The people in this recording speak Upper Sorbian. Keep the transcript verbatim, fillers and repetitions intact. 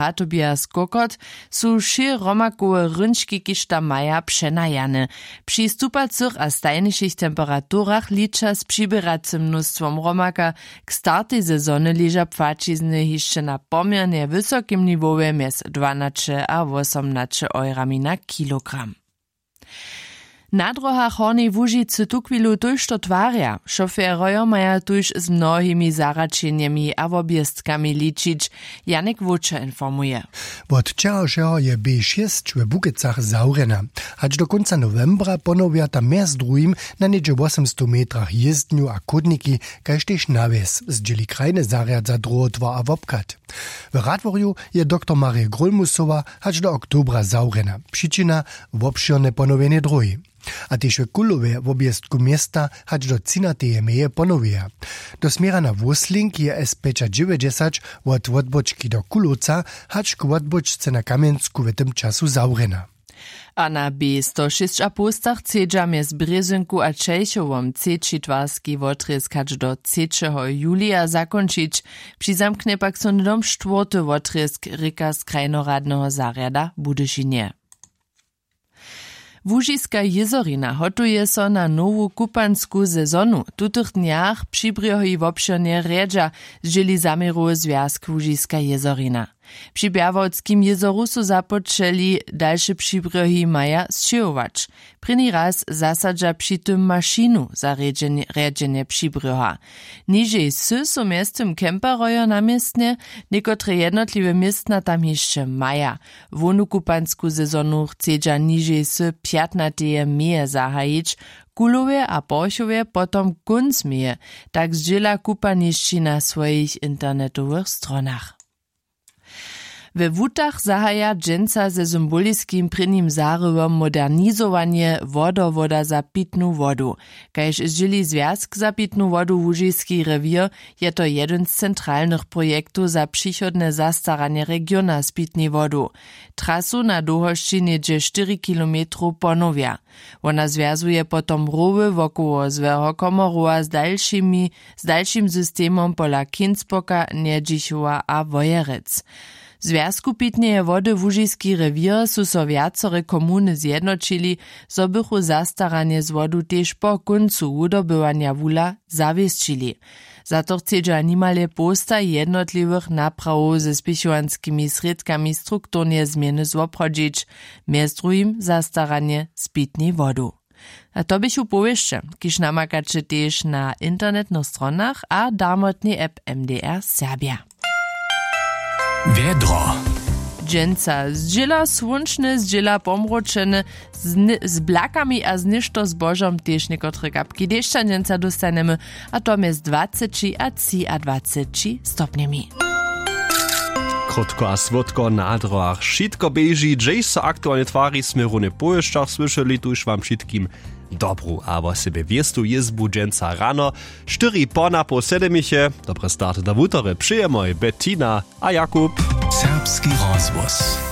Ratobia z kokot, su wšě hromakowe hrónčki kiž tam maja přenajane. Při stupacych a stajnišich temperaturach liča z přiběracym mnóstwom hromaka. K startej sezony leža płaćizny hišće na poměrnje wysokim niwowje mjez dwanaće a wosomnaće eurami na kilogram. Na dróhach hornjej łužicy tuchwilu tójšto twarja. Šoferojo maja tuž z mnohimi zahraćenjemi a wobjezkami ličić. Janek wóčer informuje. Wot wčerawšeho je b šěsć we bukecach zawrjena. Hač do kónca nowembra ponowja tam mjez druhim na něhdźe wosomstow metrach jězdnju a chódniki, kaž tež nawjez zdźěli krajny zarjad za druhotwar a wobchad. W radworju je doktor marje grólmusowa hač do oktobra zawrjena. Přičina: wobšěrne ponowjenje dróhi. A tež w kulowje wobjeztku města hač do třinateje meje ponowjeja. Do směra na wósling je s pjećadźewjećdźesać wot wotbóčki do kulowca hač k wotbóčce na kamjensku w tym času zawrjena. A na b sto šěsć a połstach chcedźa mjez brězynku a čejchowom třeći twarski wotrězk hač do třećeho julija zakónčić. Přizamknje pak so hnydom štwórty wotrězk rěka z krajnoradneho zarjada w budyšinje. Łužiska jězorina hotuje so na nowu kupansku sezonu. W tutych dnjach přibrjohi wobšěrnje rjedźa, zdźěli zaměrowy zwjazk łužiska jězorina. Při bjerwoldskim jězoru su započeli, dalše přibrjohi maja sćěhować. Prěni raz zasadźa při tym mašinu za rjedźenje rjedźenje přibrjoha. Nižej sy su mjeztym kemperojo na městnje. Někotre jednotliwe městna tam hišće maja. Hłownu kupansku sezonu chcedźa nižej sy pjatnateje meje zahajić, w kulowje a porchowje potom kónc meje. Tak zdźěla kupanišći na swojich internetowych stronach. We wutach zahaja dźensa ze symboliskim prěnim zarywom modernizowanje wodowoda za pitnu wodu. Kaž zdźěli zwjazk za pitnu wodu łužiski rewěr, je to jedyn z centralnych projektow za přichodne zastaranje regiona z pitnej wodu. Trasu na dołhosći něhdźe štyri kilometrow ponowja. Wona zwjazuje potom rowy wokoło złeho komorowa z dalšimi z dalšim systemom pola kinspoka njedźichowa a wojerec. W zwjazku pitneje wody łužiski rewěr su so wjacore komuny zjednoćili, zo bychu zastaranje z wodu tež po kóncu wudobywanja wula zawěsćili. Za to chcedźa nimale połsta jednotliwych naprawow ze spěchowanskimi srědkami strukturnje změny zwoprawdźić, mjez druhim zastaranje z pitnej wodu. A to běchu powěsće, kiž namakaće tež na internetnych stronach a darmotnej app mdr serbja. Wjedro. Dźensa zdźěla słónčne, zdźěla pomročene, z blakami a z něšto zbožom tež někotre kapki dešća dźensa dóstanjemy, a to mjez dwaceći a třiadwaceći stopnjemi. Krótko a słódko na dróhach wšitko běži, hdźež so aktualnje twari, smy runje w powěsćach słyšeli. Tuž wam wšitkim dobru a wosebje wěstu jězbu dźensa rano. Štyri po napoł sedemiche. Dobre starty do wutory přejemoj Bettina a Jakub. Serbski rozhłos.